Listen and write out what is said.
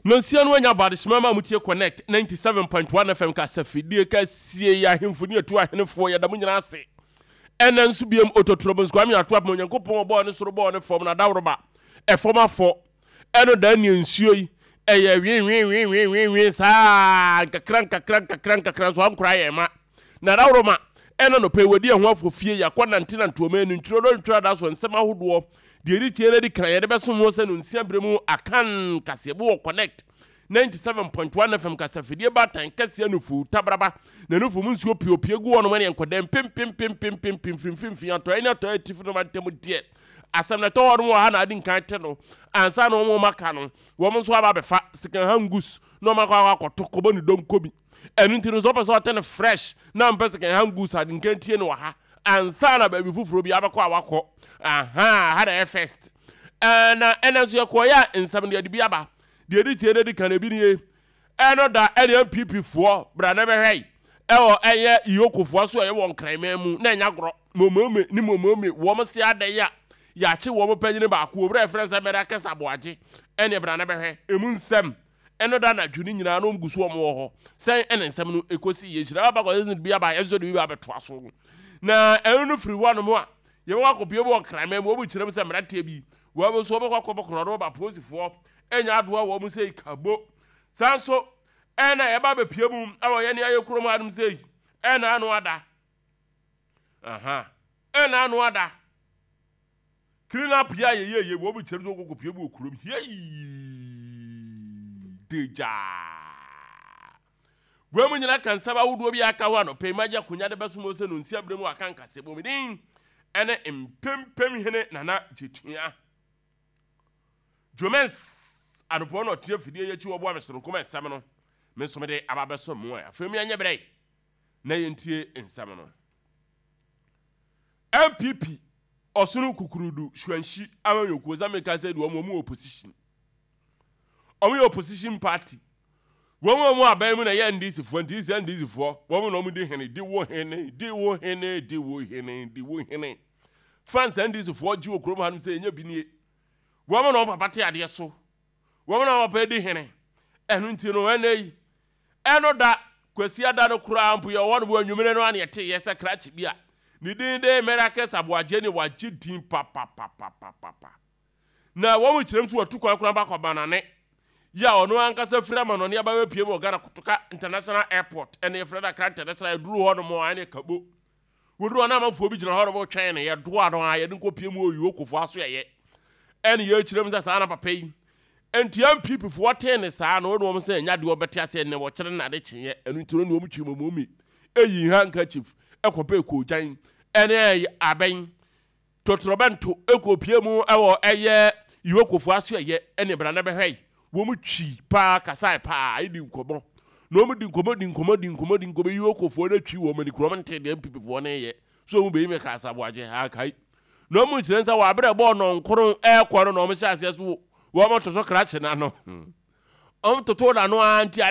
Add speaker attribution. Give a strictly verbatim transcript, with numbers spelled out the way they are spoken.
Speaker 1: Nonsia no anya bɔ adehyema ma mutie Connect ninety-seven point one F M kasafidie kɛseɛ yi. Ahemfo ne atu ahenefoɔ, yɛda mo nyinaa ase. Ɛnɛ nso biam ototorobons Kwame ato apem Onyankopɔn ɔbɔɔ ne soro bɔɔ ne fam na daworoba ɛfam afɔ ɛno da ne nsuo yi ɛyɛ nwenwenwenwenwenwen saa nkakra nkakra nkakra nkakra nso ankora yɛn ma na dawuroma. Ɛna nɔpɛ wɔdi ɛho afɔ fie yɛakɔ nante nante ɔma ani ntwerɛ dɔ ntwerɛ da so nsɛm ahodoɔ deɛ ɛdi tie no di kan yɛde bɛsom ho sɛ no nsia berɛ mu Akan kaseɛbo wɔ Connect ninety-seven point one F M kasafidie baatan kɛseɛ nufu tabraba na nufu mu nsuo piopie gu hɔ nom ne nkɔdɛm pempempempempempem firimfimfini atɔeɛ ne atɔeɛ atifi no mantam deɛ asɛm na ɛtɔ hɔ nom wɔ ha na ade nkan te no ansa na wɔn aka no wɔn nso aba abɛfa second goods na wɔn akɔ akɔ akɔto kɔbɔ ne dɔm bi. Ɛno nti no sɛ ɔpɛ sɛ ɔte no fresh na mpɛ second hand goods, ade nkan tie no wɔ ha ansa na baabi foforɔ bi abɛkɔ a wakɔ aha ha na ɛyɛ first. Ɛna ɛna nso yɛkɔɔyɛ a nsɛm deɛ de bi aba deɛ ɛdi tie no di kan ebi nie. Ɛno da ɛne N P P foɔ bra na bɛhwɛ yi ɛwɔ ɛyɛ E O C foɔ so a ɛyɛ wɔ Nkranman mu na ɛnya gorɔ momome ne momome wɔn se adan a yɛakye wɔn panyin baako owura ɛfrɛ sɛ bɛrɛ akɛse aboagye. Ɛne bra na bɛhwɛ emu nsɛm. Ɛno da anadwo no nyinaa na wɔn gu so wɔn wɔ hɔ sɛn ɛne nsɛm no ekosi yɛ hyira aba kɔ bi aba ɛnso de bi abɛtoa so na ɛno no firi hɔ nom a yɛbɛkɔ akɔpie mu wɔ Nkraman mu. Wɔn kyerɛ mu sɛ mmeranteɛ bi wɔn nso wɔbɛkɔ akɔbɔ korɔ ba polisifoɔ ɛnya adoa wɔn sɛ kabo. Saa nso ɛna yɛba abɛpie mu ɛwɔ yɛne ayɛ kurom hanom sɛ yi ɛna ano ada aha ɛna ano ada clean up yɛ a yɛyɛ yɛ wɔn kyerɛ mu sɛ wɔkɔ pie mu wɔ kurom hiei degyaa. Wɔn mu nyinaa ka nsɛm ahodoɔ bi aka ho anɔpɛ yi magye akonnwa de bɛso mu sɛ no nsia berɛ mu aka nkasɛ bɔ din ɛne mpempem hene Nana Gyetua Jomens anɔpɔ na ɔte afidie yɛ akyi wɔboa me soronko ma nsɛm no me nso mede aba bɛsɔ mu a afei mu yɛnyɛ berɛ na yɛntie nsɛm no. N P P ɔsono kukurudu suanhyi amanyɔkuo sɛ meka sɛ de wɔn wɔn opposition, wɔn yɛ opposition party. Wɔn a wɔn aban mu na yɛ N D C foɔ nti sɛ N D C foɔ wɔn na wɔn di hene di wo hene di wo hene di wo hene di wo hene fans. N D C foɔ gye wɔ kurom hanom sɛ enye bi nie. Wɔn na wɔn papa te adeɛ so, wɔn na wɔn papa di hene. Ɛno nti no ɛnɛ yi ɛno da Kwasi ada no koraa mpo yɛ wɔn bo anwummerɛ no ana yɛte yɛ sɛ krakye bi a ne din de Miracles Aboagye ne wagye din papapapapapa na wɔn kyerɛm so wɔtu kwan koraa bakɔ banane yɛ a ɔno ankasa firi amanɔne aba bɛpie mu wɔ Ghana Kotoka International Airport. Ɛne yɛfrɛ no Accra International. Ɛduru hɔ nom a ɛne kabo wɔduru hɔ na amanfoɔ bi gyina hɔ nom twɛn no yɛdoa no a yɛde nkɔpie mu wɔ E O C foɔ aso yɛyɛ ɛne yɛkyerɛ mu sɛ saa na papa yi nti N P P foɔ tee ne saa na wɔne wɔn sɛ ɛnya deɛ wɔbɛte aseɛ nnɛ wɔkyerɛ no ade kyeeɛ. Ɛno nti no ne wɔn twi mɔmɔmi ɛyi handkerchief ɛkɔpɛ koogyan ɛne abɛn totorobɛnto ɛkɔpie mu ɛwɔ ɛyɛ E O C foɔ aso ɛyɛ ɛne bra na bɛhwɛ yi. Wɔn twi paa kasae paa ɛdi nkɔmɔ na wɔn di nkɔmɔ di nkɔmɔ di nkɔmɔ di nkɔmɔ. E O C foɔ no atwi wɔn ani kurom nte deɛ N P P foɔ no yɛ so wɔn bɛyi mi kasa aboagye ha kai na wɔn kyerɛ nsa wɔ abere bɔɔl nɔnkoro ɛɛkɔ no na wɔn hyɛ aseɛ so wɔn toto krakye n'ano wɔn toto n'ano ara nti.